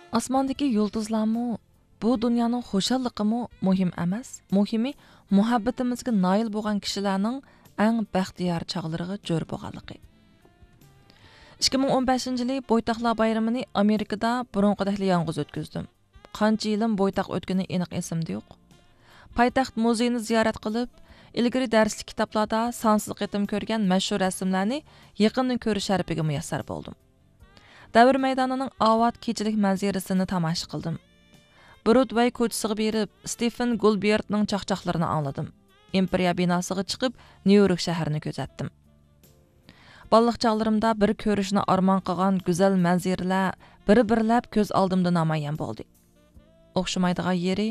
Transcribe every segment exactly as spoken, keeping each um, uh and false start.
ئاسماندىكى يۇلتۇزلارمۇ، بۇ دۇنيانىڭ خۇشاللىقىمۇ مۇھىم ئەمەس. مۇھىمى، مۇھەببىتىمىزگە نايىل بولغان كىشىلەرنىڭ ئەڭ بەختىيار چاغلىرىغا جور بولغانلىقى. ئىككى مىڭ ئون بەشىنچى يىلى بويتاقلار بايرىمىنى ئامېرىكىدا بۇرۇنقىدەكلا يالغۇز ئۆتكۈزدۈم. قانچە يىلىم بويتاق ئۆتكىنى ئېنىق ئېسىمدە يوق. پايتەخت مۇزېيىنى زىيارەت قىلىپ، ئىلگىرى دەرسلىك كىتابلاردا سانسىز قېتىم كۆرگەن مەشھۇر رەسىملەرنى يېقىندىن كۆرۈش شەرىپىگە مۇيەسسەر بولدۇم. دەۋر مەيدانىنىڭ ئاۋات كېچىلىك مەنزىرىسىنى تاماشا قىلدىم. برودۋەي كوچىسىغا بېرىپ، ستېفېن گولبېرتنىڭ چاقچاقلىرىنى ئاڭلىدىم. ئىمپېرىيە بىناسىغا چىقىپ، نيۇ يورك شەھىرىنى كۆزەتتىم. بالىلىق چاغلىرىمدا بىر كۆرۈشنى ئارمان قىلغان گۈزەل مەنزىرىلەر بىر-بىرلەپ كۆز ئالدىمدا نامايان بولدى. ئوخشىمايدىغان يېرى،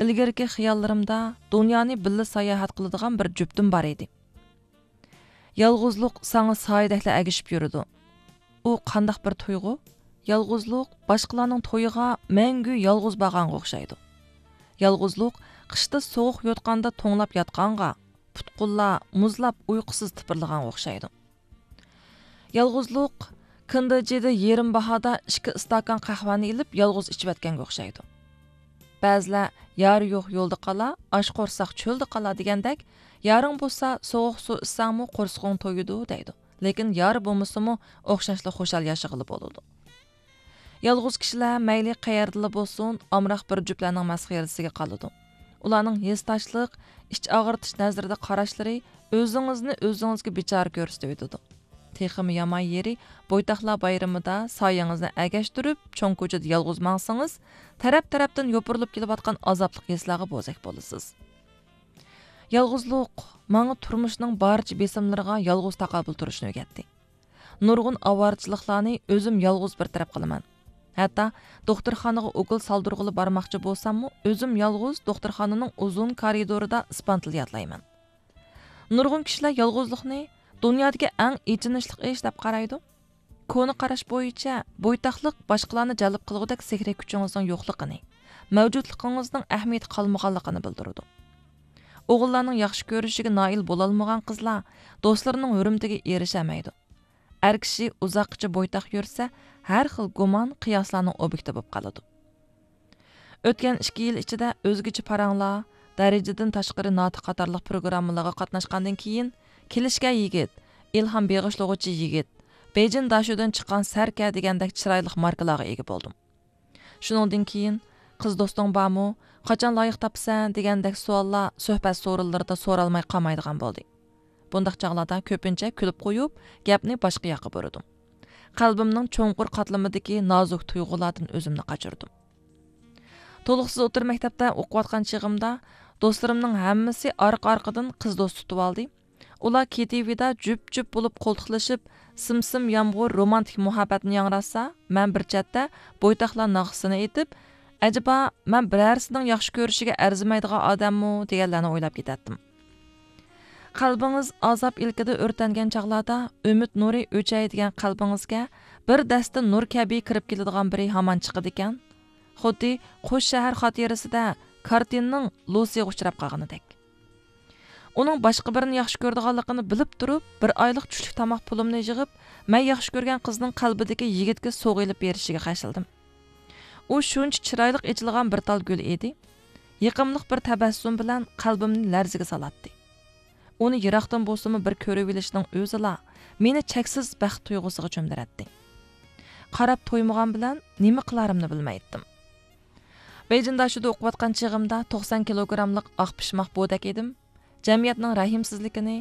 ئىلگىرىكى خىياللىرىمدا دۇنيانى بىللە ساياھەت قىلىدىغان بىر جۈپتۈم بار ئىدى. يالغۇزلۇق ساڭا سايىدەكلا ئەگىشىپ يۈرىدۇ. ئۇ قانداق بىر تۇيغۇ؟ يالغۇزلۇق باشقىلارنىڭ تويىغا مەڭگۈ يالغۇز بارغانغا ئوخشايدۇ. يالغۇزلۇق قىشتا سوغۇق يوتقاندا توڭلاپ ياتقانغا، پۇت-قوللار مۇزلاپ ئۇيقۇسىز تىپىرلىغانغا ئوخشايدۇ. يالغۇزلۇق كىندىجىدا يېرىم باھادا ئىككى ئىستاكان قەھۋەنى ئېلىپ يالغۇز ئىچىۋەتكەنگە ئوخشايدۇ. بەزىلەر يار يوق يولدا قالا، ئاچ قورساق چۆلدە قالا دېگەندەك، يارىڭ بولسا سوغۇق سۇ ئىچسەڭمۇ قورسىقىڭ تويىدۇ دەيدۇ. لېكىن يار بولمىسىمۇ ئوخشاشلا خۇشال ياشىغىلى بولىدۇ. يالغۇز كىشىلەر مەيلى قەيەردىلا بولسۇن، ئامراق بىر جۈپلەرنىڭ مەسخىرىسىگە قالىدۇ. ئۇلارنىڭ ھېسداشلىق، ئىچ ئاغرىتىش نەزىرىدە قاراشلىرى ئۆزىڭىزنى ئۆزىڭىزگە بىچارە كۆرسىتىۋېتىدۇ. تېخىمۇ يامان يېرى، بويتاقلار بايرىمىدا سايىڭىزنى ئەگەشتۈرۈپ، چوڭ كوچىدا يالغۇز ماڭسىڭىز، تەرەپ-تەرەپتىن يوپۇرۇلۇپ كېلىۋاتقان ئازابلىق ھېسلارغا بوزەك بولىسىز. يالغۇزلۇق ماڭا تۇرمۇشنىڭ بارچە بېسىملىرىغا يالغۇز تاقابىل تۇرۇشنى ئۆگەتتى. نۇرغۇن ئاۋارىچىلىقلارنى ئۆزۈم يالغۇز بىر تەرەپ قىلىمەن. ھەتتا دوختۇرخانىغا ئوكۇل سالدۇرغىلى بارماقچى بولساممۇ، ئۆزۈم يالغۇز دوختۇرخانىنىڭ ئۇزۇن كارىدورىدا ئىسپانتىل يادلايمەن. نۇرغۇن كىشىلەر يالغۇزلۇقنى دۇنيادىكى ئەڭ ئېچىنىشلىق ئىش دەپ قارايدۇ. كونا قاراش بويىچە، بويتاقلىق باشقىلارنى جەلپ قىلغۇدەك سېھرىي كۈچىڭىزنىڭ يوقلۇقىنى، مەۋجۇتلۇقىڭىزنىڭ ئەھمىيىتى قالمىغانلىقىنى بىلدۈرىدۇ. ئوغۇللارنىڭ ياخشى كۆرۈشىگە نائىل بولالمىغان قىزلار دوستلىرىنىڭ ھۆرمىتىگە ئېرىشەلمەيدۇ. ئەر كىشى ئۇزاققىچە بويتاق يۈرسە، ھەر خىل گۇمان، قىياسلارنىڭ ئوبيېكتى بولۇپ قالىدۇ. ئۆتكەن ئىككى يىل ئىچىدە ئۆزگىچە پاراڭلار، دەرىجىدىن تاشقىرى ناتىق قاتارلىق پروگراممىلارغا قاتناشقاندىن كېيىن، كېلىشكەن يىگىت، ئىلھام بېغىشلىغۇچى يىگىت، بېيجىڭ داشۇدىن چىققان سەركە دېگەندەك چىرايلىق ماركىلارغا ئىگە بولدۇم. شۇنىڭدىن كېيىن، قىز دوستۇڭ بارمۇ؟ قاچان لايىق تاپىسەن؟ دېگەندەك سوئاللار سۆھبەت سورۇنلىرىدا سورالماي قالمايدىغان بولدى. بۇنداق چاغلاردا كۆپىنچە كۈلۈپ قويۇپ، گەپنى باشقا ياققا بۇرىدىم. قەلبىمنىڭ چوڭقۇر قاتلىمىدىكى نازۇك تۇيغۇلاردىن ئۆزۈمنى قاچۇردۇم. تولۇقسىز ئوتتۇرا مەكتەپتە ئوقۇۋاتقان چېغىمدا، دوستلىرىمنىڭ ھەممىسى ئارقا-ئارقىدىن قىز دوست تۇتۇۋالدى. ئۇلار كېتىۋىدا جۈپ-جۈپ بولۇپ قولتۇقلىشىپ، سىم-سىم يامغۇر رومانتىك مۇھەببەتنى ياڭراتسا، مەن بىر چەتتە بويتاقلار ناخشىسىنى ئېيتىپ، ئەجەبا، مەن بىرەرسىنىڭ ياخشى كۆرۈشىگە ئەرزىمەيدىغان ئادەممۇ؟ دېگەنلەرنى ئويلاپ كېتەتتىم. قەلبىڭىز ئازاب ئىلكىدە ئۆرتەنگەن چاغلاردا، ئۈمىد نۇرى ئۆچەي دېگەن قەلبىڭىزگە بىر دەستە نۇر كەبى كىرىپ كېلىدىغان بىرى ھامان چىقىدىكەن. خۇددى قوش شەھەر خاتىرىسىدە كارتىننىڭ لۇسىغا ئۇچراپ قالغىنىدەك. ئۇنىڭ باشقا بىرىنى ياخشى كۆرىدىغانلىقىنى بىلىپ تۇرۇپ، بىر ئايلىق چۈشلۈك تاماق پۇلۇمنى يىغىپ، مەن ياخشى كۆرگەن قىزنىڭ قەلبىدىكى يىگىتكە سوۋغا ئېلىپ بېرىشىگە خەجلىدىم. ئۇ شۇنچە چىرايلىق ئېچىلغان بىر تال گۈل ئىدى. يېقىملىق بىر تەبەسسۇم بىلەن قەلبىمنى لەرزىگە سالاتتى. ئۇنى يىراقتىن بولسىمۇ بىر كۆرۈۋېلىشنىڭ ئۆزىلا مېنى چەكسىز بەخت تۇيغۇسىغا چۆمدۈرەتتى. قاراپ تويمىغان بىلەن نېمە قىلارىمنى بىلمەيتتىم. بېيجىڭدا شۇدا ئوقۇۋاتقان چېغىمدا توقسان كىلوگراملىق ئاق پىشماق بودەك ئىدىم. جەمئىيەتنىڭ رەھىمسىزلىكىنى،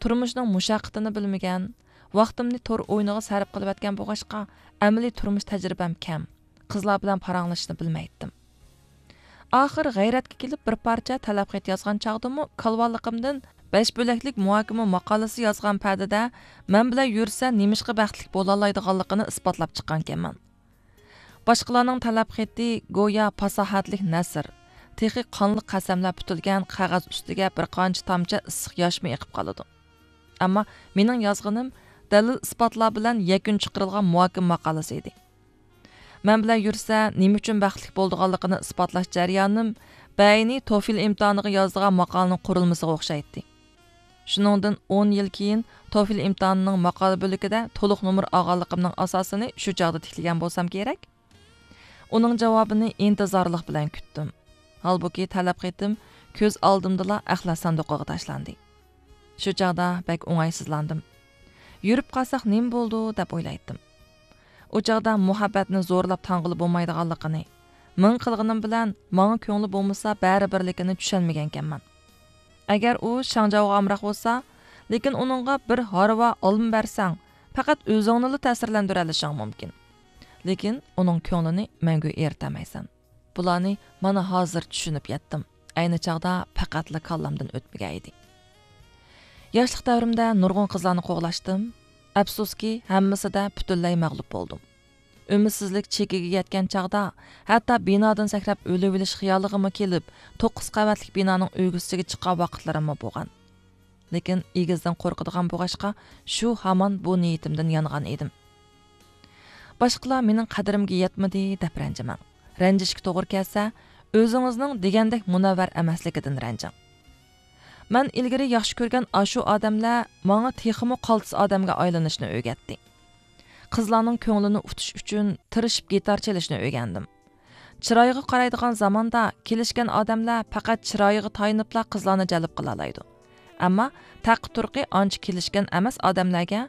تۇرمۇشنىڭ مۇشەققىتىنى بىلمىگەن، ۋاقتىمنى تور ئويۇنىغا سەرپ قىلىۋەتكەن بولغاچقا، ئەمەلىي تۇرمۇش تەجرىبەم كەم، قىزلار بىلەن پاراڭلىشىشنى بىلمەيتتىم. ئاخىر غەيرەتكە كېلىپ بىر پارچە تەلەپ خەت يازغان چاغدىمۇ كالۋالىقىمدىن بەش بۆلەكلىك مۇھاكىمە ماقالىسى يازغان پەدىدە مەن بىلەن يۈرسە نېمىشقا بەختلىك بولالايدىغانلىقىنى ئىسپاتلاپ چىققانىكەنمەن. باشقىلارنىڭ تەلەپ خېتى گويا پاساھەتلىك نەسر، تېخى قانلىق قەسەملەر پۈتۈلگەن قەغەز ئۈستىگە بىر قانچە تامچە ئىسسىق ياشمۇ ئېقىپ قالىدۇ. ئەمما مېنىڭ يازغىنىم دەلىل-ئىسپاتلار بىلەن يەكۈن چىقىرىلغان مۇھاكىمە ماقالىسى ئىدى. مەن بىلەن يۈرسە نېمە ئۈچۈن بەختلىك بولىدىغانلىقىنى ئىسپاتلاش جەريانىم بەينى توفىل ئىمتىھانىغا يازىدىغان ماقالىنىڭ قۇرۇلمىسىغا ئوخشايتتى. شۇنىڭدىن ئون يىل كېيىن توفىل ئىمتىھانىنىڭ ماقالە بۆلىكىدە تولۇق نومۇر ئالغانلىقىمنىڭ ئاساسىنى شۇ چاغدا تىكلىگەن بولسام كېرەك. ئۇنىڭ جاۋابىنى ئىنتىزارلىق بىلەن كۈتتۈم. ھالبۇكى، تەلەپ خېتىم كۆز ئالدىمدىلا ئەخلەت ساندۇقىغا تاشلاندى. شۇ چاغدا بەك ئوڭايسىزلاندىم. يۈرۈپ قالساق نېمە بولىدۇ دەپ ئويلايتتىم. ئۇ چاغدا مۇھەببەتنى زورلاپ تاڭغىلى بولمايدىغانلىقىنى، مىڭ قىلغىنىم بىلەن ماڭا كۆڭلى بولمىسا بەرىبىرلىكىنى چۈشەنمىگەنكەنمەن. ئەگەر ئۇ شاڭجاۋغا ئامراق بولسا، لېكىن ئۇنىڭغا بىر ھارۋا ئالما بەرسەڭ، پەقەت ئۆزۈڭنىلا تەسىرلەندۈرەلىشىڭ مۇمكىن. لېكىن ئۇنىڭ كۆڭلىنى مەڭگۈ ئېرىتەلمەيسەن. بۇلارنى مانا ھازىر چۈشىنىپ يەتتىم. ئەينى چاغدا پەقەتلا كاللامدىن ئۆتمىگەن ئىدى. ياشلىق دەۋرىمدە نۇرغۇن قىزلارنى قوغلاشتىم. ئەپسۇسكى، ھەممىسىدە پۈتۈنلەي مەغلۇپ بولدۇم. ئۈمىدسىزلىك چېكىگە يەتكەن چاغدا ھەتتا بىنادىن سەكرەپ ئۆلۈۋېلىش خىيالىغىمۇ كېلىپ، توققۇز قەۋەتلىك بىنانىڭ ئۆگزىسىگە چىققان ۋاقىتلىرىممۇ بولغان. لېكىن ئېگىزدىن قورقىدىغان بولغاچقا، شۇ ھامان بۇ نىيىتىمدىن يانغان ئىدىم. باشقىلار مېنىڭ قەدرىمگە يەتمىدى دەپ رەنجىمەڭ. رەنجىشكە توغرا كەلسە، ئۆزىڭىزنىڭ دېگەندەك مۇنەۋۋەر ئەمەسلىكىدىن رەنجىڭ. مەن ئىلگىرى ياخشى كۆرگەن ئاشۇ ئادەملەر ماڭا تېخىمۇ قالتىس ئادەمگە ئايلىنىشنى ئۆگەتتى. قىزلارنىڭ كۆڭلىنى ئۇتۇش ئۈچۈن تىرىشىپ گىتار چېلىشنى ئۆگەندىم. چىرايىغا قارايدىغان زاماندا كېلىشكەن ئادەملەر پەقەت چىرايىغا تايىنىپلا قىزلارنى جەلپ قىلالايدۇ. ئەمما تەقى تۇرقى ئانچە كېلىشكەن ئەمەس ئادەملەرگە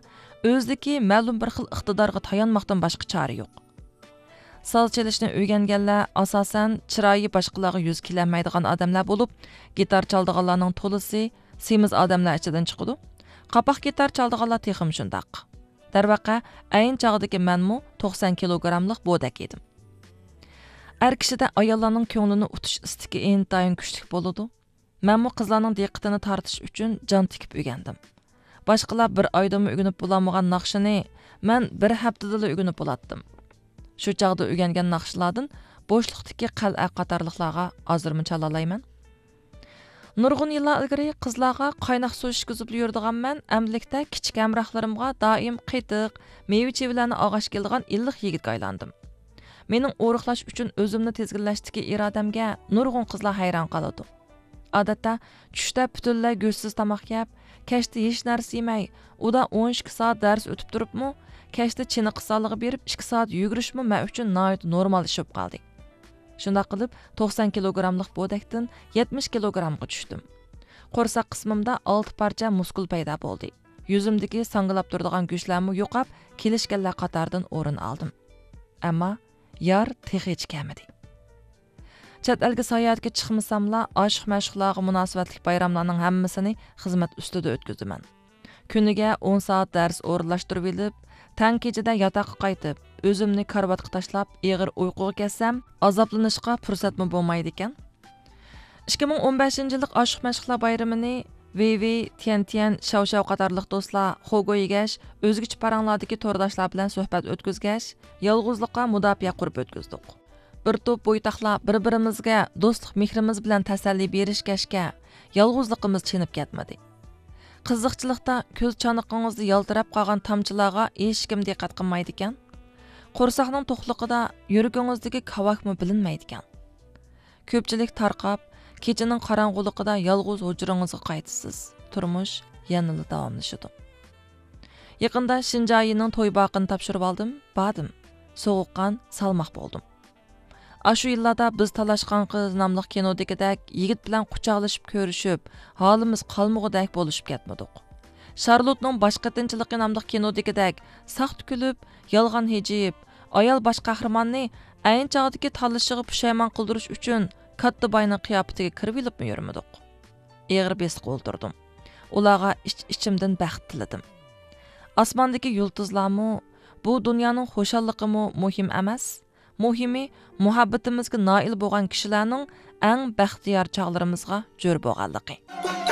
ئۆزىدىكى مەلۇم بىر خىل ئىقتىدارغا تايانماقتىن باشقا چارە يوق. ساز چېلىشنى ئۆگەنگەنلەر ئاساسەن چىرايى باشقىلارغا يۈز كېلەلمەيدىغان ئادەملەر بولۇپ، گىتار چالىدىغانلارنىڭ تولىسى سېمىز ئادەملەر ئىچىدىن چىقىدۇ. قاپاق گىتار چالىدىغانلار تېخىمۇ شۇنداق. دەرۋەقە، ئەينى چاغدىكى مەنمۇ توقسان كىلوگراملىق بودەك ئىدىم. ئەر كىشىدە ئاياللارنىڭ كۆڭلىنى ئۇتۇش ئىستىكى ئىنتايىن كۈچلۈك بولىدۇ. مەنمۇ قىزلارنىڭ دىققىتىنى تارتىش ئۈچۈن جان تىكىپ ئۆگەندىم. باشقىلار بىر ئايدىمۇ ئۆگىنىپ بولالمىغان ناخشىنى مەن بىر ھەپتىدىلا ئۆگىنىپ بولاتتىم. شۇ چاغدا ئۆگەنگەن ناخشىلاردىن بوشلۇقتىكى قەلئە قاتارلىقلارغا ھازىرمۇ چالالايمەن. نۇرغۇن يىللار ئىلگىرى قىزلارغا قايناق سۇ ئىچكۈزۈپلا يۈرىدىغان مەن ئەمدىلىكتە كىچىك ھەمراھلىرىمغا دائىم قېتىق، مېۋە-چېۋىلەرنى ئالغاچ كېلىدىغان ئىللىق يىگىتكە ئايلاندىم. مېنىڭ ئورۇقلاش ئۈچۈن ئۆزۈمنى تىزگىنلەشتىكى ئىرادەمگە نۇرغۇن قىزلار ھەيران قالىدۇ. ئادەتتە چۈشتە پۈتۈنلەي گۆشسىز تاماق يەپ، كەچتە ھېچ نەرسە يېمەي، ئۇدا ئون ئىككى سائەت دەرس ئۆتۈپ تۇرۇپمۇ، كەچتە چېنىقىش زالىغا بېرىپ ئىككى سائەت يۈگۈرۈشمۇ مەن ئۈچۈن ناھايىتى نورمال ئىش بولۇپ قالدى. شۇنداق قىلىپ، توقسان كىلوگراملىق بودەكتىن يەتمىش كىلوگرامغا چۈشتۈم. قورساق قىسمىمدا ئالتە پارچە مۇسكۇل پەيدا بولدى. يۈزۈمدىكى ساڭگىلاپ تۇرىدىغان گۆشلەرمۇ يوقاپ، كېلىشكەنلەر قاتارىدىن ئورۇن ئالدىم. ئەمما يار تېخىچە كەلمىدى. چەت ئەلگە ساياھەتكە چىقمىساملا، ئاشىق-مەشۇقلارغا مۇناسىۋەتلىك بايراملارنىڭ ھەممىسىنى خىزمەت ئۈستىدە ئۆتكۈزىمەن. كۈنىگە ئون سائەت دەرس ئورۇنلاشتۇرۇۋېلىپ، تەڭ كېچىدە ياتاققا قايتىپ، ئۆزۈمنى كارىۋاتقا تاشلاپ، ئېغىر ئۇيقۇغا كەتسەم، ئازابلىنىشقا پۇرسەتمۇ بولمايدىكەن. ئىككى مىڭ ئون بەشىنچى يىللىق ئاشىق-مەشۇقلار بايرىمىنى ۋېي ۋېي، تيەن تيەن، شياۋ شياۋ قاتارلىق دوستلار خوگو يېگەچ، ئۆزگىچە پاراڭلاردىكى تورداشلار بىلەن سۆھبەت ئۆتكۈزگەچ، يالغۇزلۇققا مۇداپىئە قۇرۇپ ئۆتكۈزدۇق. بىر توپ بويتاقلار بىر-بىرىمىزگە دوستلۇق مېھرىمىز بىلەن تەسەللى بېرىشكەچكە، يالغۇزلۇقىمىز چېنىپ كەتمىدى. قىزىقچىلىقتا كۆز چانىقىڭىزدا يالتىراپ قالغان تامچىلارغا ھېچكىم دىققەت قىلمايدىكەن. قورساقنىڭ توقلۇقىدا يۈرىكىڭىزدىكى كاۋاكمۇ بىلىنمەيدىكەن. كۆپچىلىك تارقاپ، كېچىنىڭ قاراڭغۇلۇقىدا يالغۇز ھۇجرىڭىزغا قايتىسىز. تۇرمۇش يەنىلا داۋاملىشىدۇ. يېقىندا شىنجايىنىڭ توي باقىنى تاپشۇرۇۋالدىم، باردىم. سوغۇققان، سالماق بولدۇم. ئاشۇ يىللاردا بىز تالاشقان قىز ناملىق كىنودىكىدەك يىگىت بىلەن قۇچاقلىشىپ كۆرۈشۈپ، ھالىمىز قالمىغۇدەك بولۇشۇپ كەتمىدۇق. شارلوتنىڭ باش قېتىنچىلىقى ناملىق كىنودىكىدەك ساختا كۈلۈپ، يالغان ھىجىيىپ، ئايال باش قەھرىماننى ئەينى چاغدىكى تاللىشىغا پۇشايمان قىلدۇرۇش ئۈچۈن كاتتا باينىڭ قىياپىتىگە كىرىۋېلىپمۇ يۈرمىدۇق. ئېغىر بېسىققا ئولتۇردۇم. ئۇلارغا ئىچ-ئىچىمدىن بەخت تىلىدىم. ئاسماندىكى يۇلتۇزلارمۇ، بۇ دۇنيانىڭ خۇشاللىقىمۇ مۇھىم ئەمەس. مۇھىمى، مۇھەببىتىمىزگە نائىل بولغان كىشىلەرنىڭ ئەڭ بەختىيار چاغلىرىمىزغا جور بولغانلىقى.